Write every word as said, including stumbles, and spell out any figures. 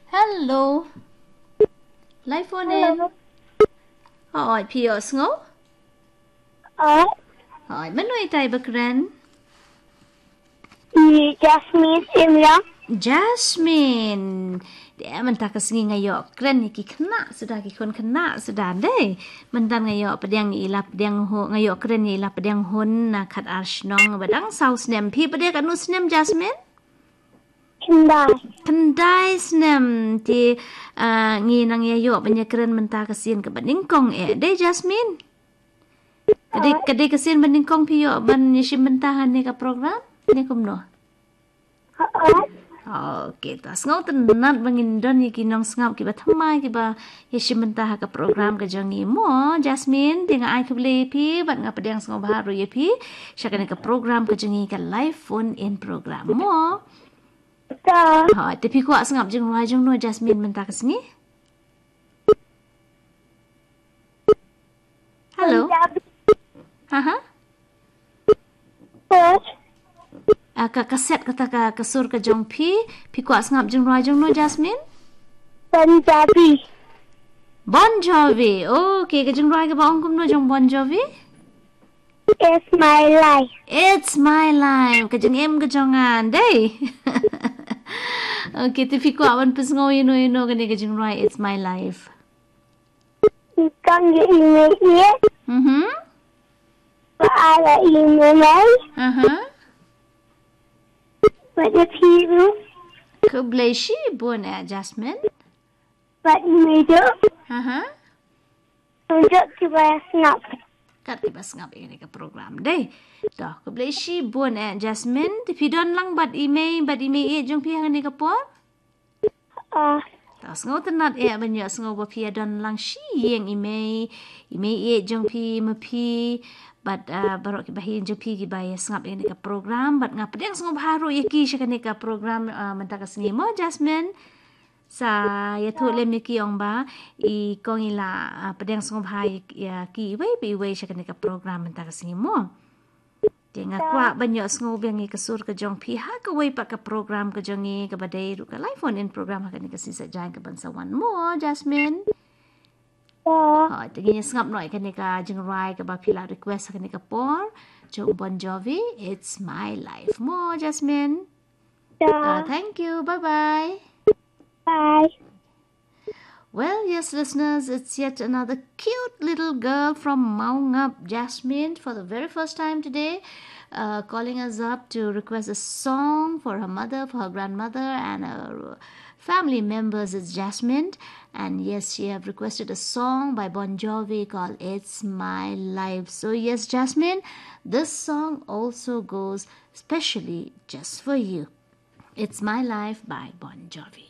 Hello. Live phone in. Hello. Hooid, phi ïohsngew? Hooid, mano itai ba kren? I Jasmine Syiemliang. Jasmine. Dei mynta ka sngi nga ïoh kren ïa ki khynnah suda, ki khun khynnah suda dei. Mynta nga ïoh pdiang ïa i la pdiang hun, nga ïoh kren ïa i la pdiang hun na khatar shnong ba dang saw snem. Phi pat dei katno snem, Jasmine? Khyndai. Khyndai snem. Te, ah, ngi nang ïa ïoh ban ïa kren mynta ka sien kaba nyngkong eh. Dei, Jasmine? Ka dei, ka dei ka sien ba nyngkong phi ïoh ban ïa shim bynta ha kane ka program? Ne kumno? Hooid. Okay, to sngewtynnat ba ngin don ïa ki nongsngap kiba thymmai kiba ïa shim bynta ha ka program ka jong ngi mo, Jasmine. Te nga ai khublei ïa phi bad nga pdiang sngewbha ruh ïa phi sha kane ka program ka jong ngi, ka live phone in program mo. To. Hooid, te phi kwah sngap jingrwai jong no, Jasmine, mynta ka sngi? Hello. Punjabi. Haha. Sur. Ah, ka, ka set kata ka, ka sur ka jong phi, phi kwah sngap jingrwai jong no, Jasmine? Punjabi. Bon Jovi. Okay, ka jingrwai kaba ong kumno jong Bon Jovi? It's my life. It's my life. Ka jingim ka jong nga, dei. Okay, te phi kwah ban pynsngew ïa no ïa no kane ka jingrwai It's My Life? Kong ïa i mei ïeit. Mhm. Ba ai ïa i mei mei. Aha. Bad ïa phi ruh. Khublei shibun eh, Jasmine. Bad i mei ruh. Aha. Ruh kiba sngap. Kat kiba sngap ïa kane ka program, dei. To, khublei shibun eh, Jasmine. Te phi don lang bad i mei, bad i mei ïeit jong phi ha kane ka por? Ah. To sngewtynnat eh ban ïohsngew ba phi ïa don lang shi ïing i mei, i mei ïeit jong phi, ma phi bad, ah, baroh kiba hi jong phi kiba ïa sngap ïa kane ka program, bad nga pdiang sngewbha ruh ïa ki sha kane ka program, ah, mynta ka sngi mo, Jasmine. Sa ïathuh lem ïa ki, ong ba i kong i la, ah, pdiang sngewbha ïa, ïa ki iwei pa iwei sha kane ka program mynta ka sngi mo. Te nga kwah ban ïohsngew biang ïa ka sur ka jong phi ha kawei pat ka program ka jong ngi kaba dei ruh ka live phone in program ha kane ka sngi saitjaiñ kaban sa wan mo, Jasmine. Hooid, te ngin ïa sngap noh ïa kane ka jingrwai kaba phi la request ha kane ka por jong Bon Jovi, It's My Life mo, Jasmine. Ah, thank you. Bye bye. Bye. Well, yes, listeners, it's yet another cute little girl from Mawngap, Jasmine, for the very first time today, uh, calling us up to request a song for her mother, for her grandmother, and her family members. It's Jasmine, and yes, she have requested a song by Bon Jovi called It's My Life. So yes, Jasmine, this song also goes specially just for you. It's My Life by Bon Jovi.